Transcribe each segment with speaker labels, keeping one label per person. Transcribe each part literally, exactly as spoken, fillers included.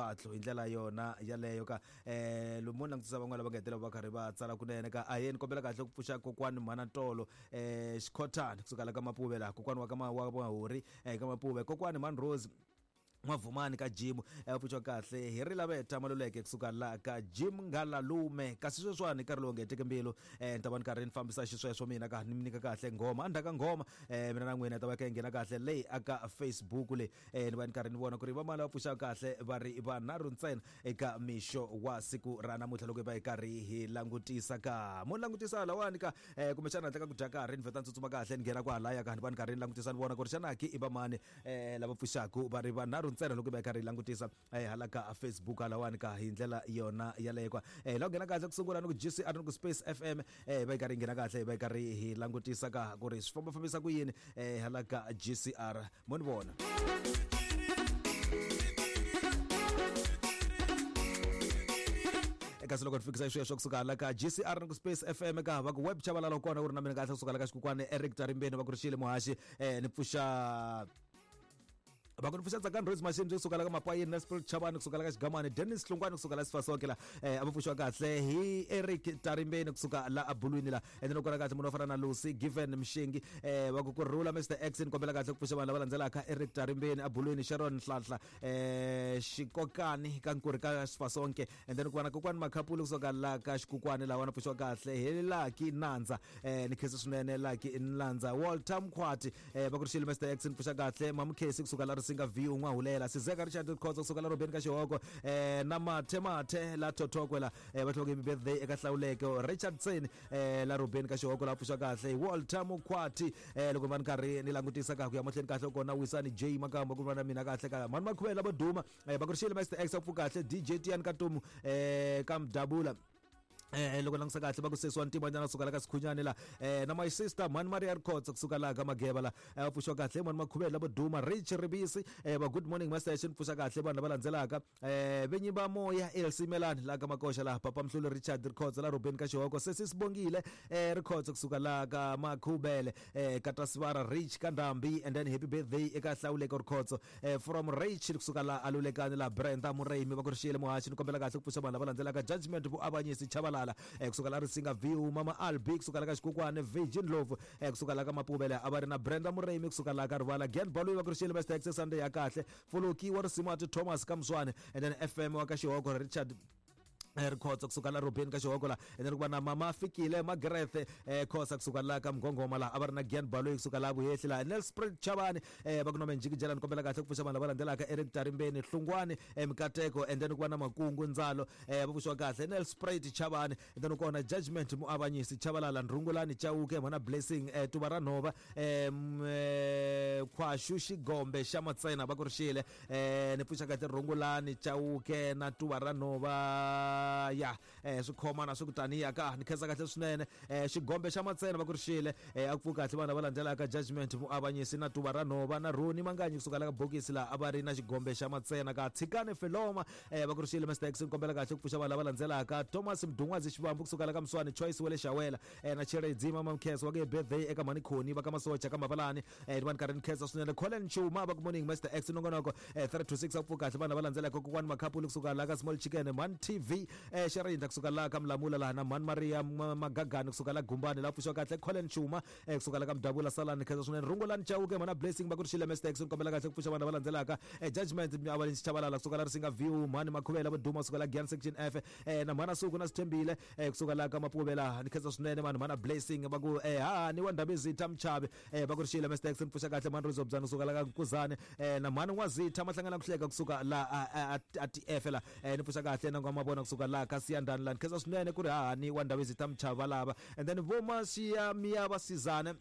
Speaker 1: Mfatlho hi ndlela yona yaleyo ka eh lomu langutisa van'wana lava nga hetelela va karhi va tsala kunene ka aheni kombela kahle ku pfuxa kokwani mhana Tolo eh Xikhothani kusuka la ka Mapuve la kokwani wa ka Mahori eh ka Mapuve kokwani mhani Rose Mavumani ka Jim eh pfuxa kahle hi ri laveta Maluleke kusuka la ka Jim Ngalalume kasi sweswiwani nkarhi lowu nge teke mbilu eh ni ta va ni karhi ni fambisa xisweswo mina ka ni mi nyika kahle nghoma endzhaku ka nghoma eh mina na n'wina ta va ka nghena kahle leyi aka Facebook le eh ni va ni karhi ni vona ku ri va mali va pfuxa kahle va ri vanharhu ntsena eka mixo wa siku ra namuntlha loko hi va hi karhi hi langutisa ka mo langutisa lawani ka eh kumbexana handle ka ku dya karhi ni vheta ni tsutsuma kahle ni nghena kwahalaya ka ni va ni karhi ni langutisa ni vona ku ri xana ki i va mani eh lava pfuxaku va ri vanharhu ntsena loko hi va karhi hi langutisa eh hala ka Facebook halawani ka hi ndlela yona yaleyo ka eh la nghena kahle ku sungula ni ku G C R ni ku Space F M eh va karhi nghena kahle va karhi hi langutisa ka ku ri swi famba fambisa ku yini eh hala ka G C R mo ni vona kasi loko ni fikisa sweswo kusuka hala ka G C R ni ku Space F M ka va ku web Chabalala kona u ri na mina kahle kusuka la ka Xikukwani Eric Tarimbeni va ku ri xile muhaxi eh ni pfuxa va ku ni pfuxa Tsakani Rose Machine kusuka la ka Mapayeni na Spirit Chabani kusuka la ka Xigamani Dennis Hlungwani kusuka la Sifasonke la eh a va pfuxiwa kahle hi Eric Tarimbeni kusuka la Abulwini la ende loko ra kahle munhu wo fana na Lucy Given Mshengi eh va ku ku rhula Mister X ni kombela kahle ku pfuxa vanhu lava landzelaka Eric Tarimbeni Abulwini Sharon Nhlanhla eh Xikokani ka Nkuri ka Sifasonke and then ku va na kokwani Makhapulu kusuka la ka Xikukwani lawa na pfuxiwa kahle hi Lucky Nandza eh ni khensa swinene Lucky Nandza Walter Mkhwati eh va ku ri xile Mister X ni pfuxa kahle Mamkhesi kusuka la Singa V un'wa hulela Sizeka Richard Khotso kusuka la Robeni ka Xihoko eh na Mathe Mathe la Thothokwe la eh va tlhoke birthday eka Hlawuleke Richardson eh la Robeni ka Xihoko la pfuxa kahle Walter Mukhwati eh loko va ni karhi ni langutisa ka ku ya mahlweni kahle kona Wisani J Makamba ku va na mina kahle ka mani Makhuvela va duma eh va ku ri xile Mister X pfu kahle D J Tian Katumu eh ka Mdabula eh loko langutisa kahle va ku sesi wa ntima nyana kusuka la ka Sikhunyani la eh na my sister Mani Maria Khotso kusuka la ka Mageba la eh pfuxiwa kahle mani Makhuvela lavo duma Rich Ribisi eh va good morning Master Shin pfuxa kahle vanhu lava landzelaka eh venyi va moya L C Melani la ka Makoxa la Papa Mhlulu Richard Khotso la Ruben ka Xihoko sesi Sibongile eh Khotso kusuka la ka Makhubele eh Katasivara Rich Kandambi and then happy birthday eka Hlawuleke Khotso eh from Rich kusuka la Alulekani la Brenda Murayimi va ku ri xile muhaxi ni kombela kahle ku pfuxa vanhu lava landzelaka Judgment vuavanyisi Chabalala eh kusuka la Risinga View Mama Albi kusuka la ka Xikukwani Virgin Love eh kusuka la ka Mapuvela a va ri na Brenda Murayimi kusuka la ka Rivala Gen Baloyi va ku ri xile Mister X Sunday ya kahle Fuluki wa Risimati Thomas Kamswane and then F M wa ka Xihoko Richard Rikhotso kusuka la Robeni ka Xihoko la and then ku va na Mama Fikile Magreth eh Khosa kusuka la ka Mgongoma la a va ri na Gian Baloyi kusuka la Vuhehli la Nelspruit Chabani eh va ku nome Njikijela ni kombela kahle ku pfuxa vanhu lava landzelaka Eric Tarimbeni Hlungwani eh Mikateko and then ku va na Makungu Ndzalo eh va pfuxiwa kahle Nelspruit Chabani and then kona Judgment Muavanyisi Chabalala Ndrungulani Chauke mhana Blessing eh Tuva ra Nhova eh Khwashu Xigombe xa Matsena va ku ri xile eh ni pfuxa kahle Rungulani Chauke na Tuva ra Nhova ya eh swi khomana swi kutaniya ka ni khensa kahle swinene eh Xigombe xa Matsena va ku ri xile eh a ku pfuka kahle vanhu lava landzelaka Judgment Muavanyisi na Tuva ra Nhova na Roni Manganyi kusuka la ka bokisi la a va ri na Xigombe xa Matsena ka Tshikani Feloma eh va ku ri xile Mister X ni kombela kahle ku pfuxa vanhu lava landzelaka Thomas Mdungwazi Xivambu kusuka la ka Mswani Choice wa le Xawela eh na Chiredzi Mama Mkheso wa ke birthday eka Mani Khoni va ka Masocha ka Mavalani eh ni va ni karhi ni khensa swinene Colin Chuma va ku morning Mister X nongonoko eh three to six a ku pfuka kahle vanhu lava landzelaka kokwani Makhapulu kusuka la ka Small Chicken Man T V eh Xerindla kusuka la ka Mlamula la na Mani Maria Magagani kusuka la Gumbani la pfuxiwa kahle Colin Chuma eh kusuka la ka Mdabula Salani khensa swinene Rungulani Chauke mana Blessing va ku ri xile Mister X ni kombela kahle ku pfuxa vanhu lava landzelaka eh Judgment Miavaleni Chabalala kusuka la Risinga View Mani Makhuvela va duma kusuka la Gian Section F eh na Mhana Suku na Sithembile eh kusuka la ka Mapuvela ni khensa swinene vanhu Mhana Blessing va ku eh ha ni wa Ndabezitha Mchavi eh va ku ri xile Mister X ni pfuxa kahle Mhani Rizobzana kusuka la ka Nkuzani eh na Mhani N'wazitha Mahlangana Kuhleka kusuka la a T F la eh ni pfuxa kahle na Ngwamabona kusuka la ka Siyandani la ni khensa swinene ku ri hahani wa Ndabezitha Mchava lava and then vo Masiya Miya va Sizane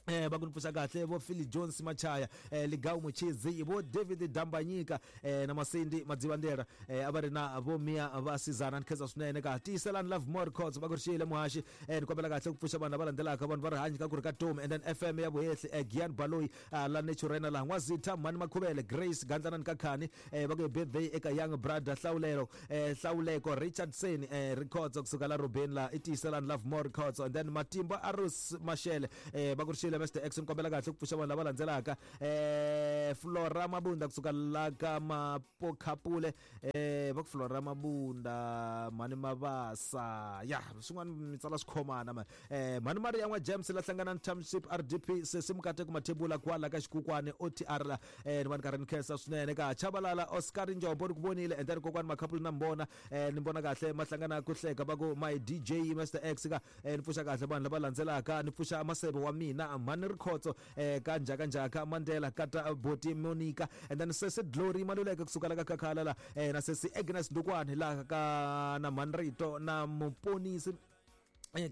Speaker 1: eh va ku ni pfuxa kahle vo Philly Jones Machaya eh Ligawu Muchizi vo David Dambanyika eh na Masindi Madzivandera eh a va ri na vo Mia va Sizana ni khensa swinene ka Tiyiselani Love More Khotso va ku ri xile muhaxi eh ni kombela kahle ku pfuxa vanhu lava landzelaka vanhu va rihanyo ka ku ri ka Tom and then F M ya Vuhehli eh Gian Baloyi la Naturena la N'wazitha Mani Makhuvele Grace Gandlanani Kakhani eh va ku birthday eka Young Brother Hlawulelo eh Hlawuleko Richardson eh Rikhotso kusuka la Robeni la i Tiyiselani Love More Khotso and then Matimba Arus Mashele eh va ku ri xile Xile Mister X ni kombela kahle ku pfuxa vanhu lava landzelaka eh Flora Mabunda kusuka la ka Mapokhapule eh va ku Flora Mabunda mani Mabasa ya swin'wana mi tsala swikhomana ma eh mani Maria n'wa James la hlangana Township R D P sesi Mukateko Mathebula kwala ka Xikukwani O T R la eh ni va ni karhi ni khensa swinene ka Chabalala Oscar Njombo ni ku vonile and then kokwani Makhapulu na mbona eh ni mbona kahle mahlangana ku hleka va ku my D J Mister X ka eh ni pfuxa kahle vanhu lava landzelaka ni pfuxa masebe wa mina mani Rikhotso eh ka njhaka njhaka Mandela kata Boti Monica and then sesi Glory Maluleke kusuka la ka Khakhala la eh na sesi Agnes Ndukwani la ka na Manrito na Muponisi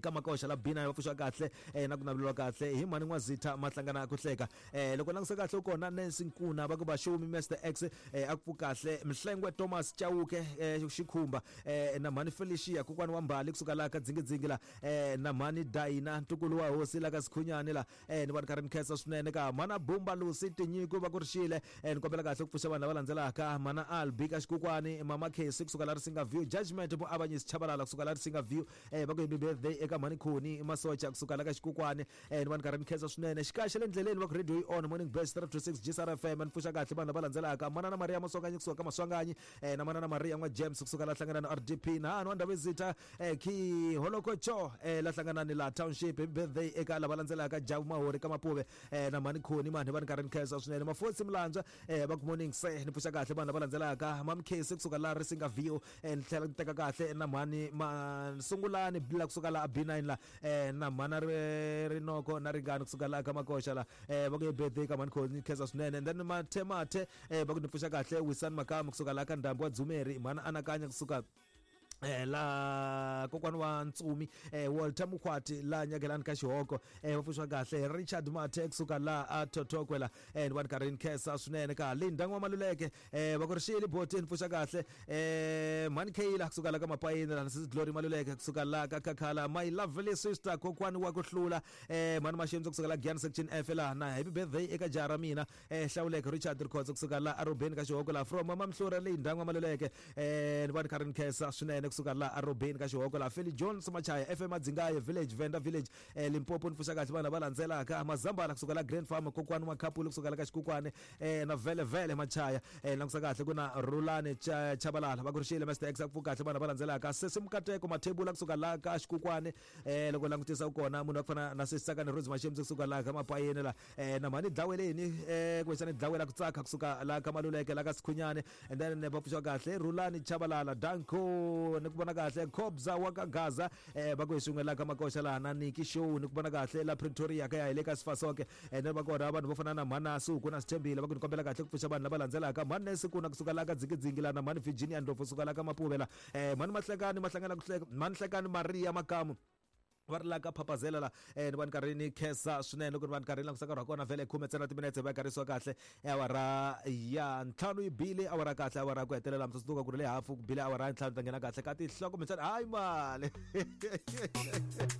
Speaker 1: ka Makoxa la Bina va pfuxa kahle eh na ku naveleriwa kahle hi mani N'wazitha mahlangana ku hleka eh loko languse kahle u kona Nancy Nkuna va ku va show me Mister X eh a ku kahle Mhlengwe Thomas Chauke eh Xikhumba eh na mani Felicia kokwani wa Mbali kusuka la ka Dzingidzingi la eh na mani Daina ntukulu wa hosi la ka Sikhunyani la eh ni va karhi ni khensa swinene ka mana Bumba Lucy Tinyiko va ku rixile eh ni kombela kahle ku pfuxa vanhu lava landzelaka mana Albi ka Xikukwani mama Casey kusuka la Risinga View Judgment Muavanyisi Chabalala kusuka la Risinga View eh va ku happy birthday eka mhani Khoni Masocha kusuka la ka Xikukwani eh ni va ni karhi ni khensa swinene xikaxe le ndleleni va ku radio yi on morning best three to six G S R F M ni pfuxa kahle vanhu lava landzelaka manana Maria Maswanganyi kusuka ka Maswanganyi eh na manana Maria n'wa James kusuka la hlangana na R D P na hanu wa Ndhavezitha eh ki Holokocho eh la hlangana ni la Township happy birthday eka lava landzelaka Jabu Mahori ka Mapuve eh na mhani Khoni mani va ni karhi ni khensa swinene Mafosi Mlandzwa eh va ku morning se ni pfuxa kahle vanhu lava landzelaka Mam Casey kusuka la Risinga View eh ni tlhela ni teka kahle na mhani Masungulani bila kusuka la B nine la eh na mhana Rinoko na Ringani kusuka la ka Makoxa la eh va ku birthday ka mhani Khoni khensa swinene and then Mathe Mathe eh va ku ni pfuxa kahle Wisan Makamu kusuka la ka Ndhambi wa Dzumeri mhana Anakanya kusuka eh la kokwani wa Ntsumi eh Walter Mukhwati la Nyakelani ka Xihoko eh va pfuxa kahle Richard Mathe kusuka la a Thothokwe la eh ni va ni karhi ni khensa swinene ka Linda N'wa Maluleke eh va ku rixile boti ni pfuxa kahle eh mhani Kayla kusuka la ka Mapayini la Sisi Glory Maluleke kusuka la ka Khakhala my lovely sister kokwani wa ku hlula eh mhani Mashembe kusuka la Giyani section F la na happy birthday eka jara mina eh Hlawuleke Richard Rikhotso kusuka la Arobeni ka Xihoko la from Mama Mhlura Linda N'wa Maluleke eh ni va ni karhi ni khensa swinene kusuka la Arobeni ka Xihoko la Feli Jones Machaya F M Adzingaye Village Venda Village eh Limpopo ni pfuxa kahle vanhu lava landzelaka Mazambala kusuka la Grand Farm kokwani Makhapulu kusuka la ka Xikukwani eh na Vele Vele Machaya eh langusa kahle ku na Rulani Chabalala va ku rixile Mister X ku kahle vanhu lava landzelaka Sesi Mukateko Mathebula kusuka la ka Xikukwani eh loko langutisa u kona munhu wa ku fana na Sesi Tsakani Rose Mashembe kusuka la ka Mapayeni la eh na mhani Dlaweleni eh kumbexana Dlawela ku tsaka kusuka la ka Maluleke la ka Sikhunyani and then va pfuxa kahle Rulani Chabalala Danko ni ku vona kahle Khobza wa ka Gaza eh va ku hi swin'we la ka Makoxa la na Niki Show ni ku vona kahle la Pretoria ka ya hi le ka Sifasoke and then va kona vanhu vo fana na mhana Suku na Sithembile va ku ni kombela kahle ku pfuxa vanhu lava landzelaka mhani Nesi kuna kusuka la ka Dzingidzingi la na mhani Virginia Ndlovu kusuka la ka Mapuve la eh mhani Mahlekani Mahlangana ku hleka mhani Hlekani Maria Makamu va ri la ka Phapazela la eh ni va ni karhi ni khensa swinene loko ni va ni karhi ni langusa nkarhi wa kona vhele khume ntsena timinetse va karhisiwa kahle awara ya ntlhanu yi bile awara kahle awara ku hetelela mi tsundzuka ku ri le hafu ku bile awara ya ntlhanu ta nghena kahle ka tinhloko mitsana hayi mali.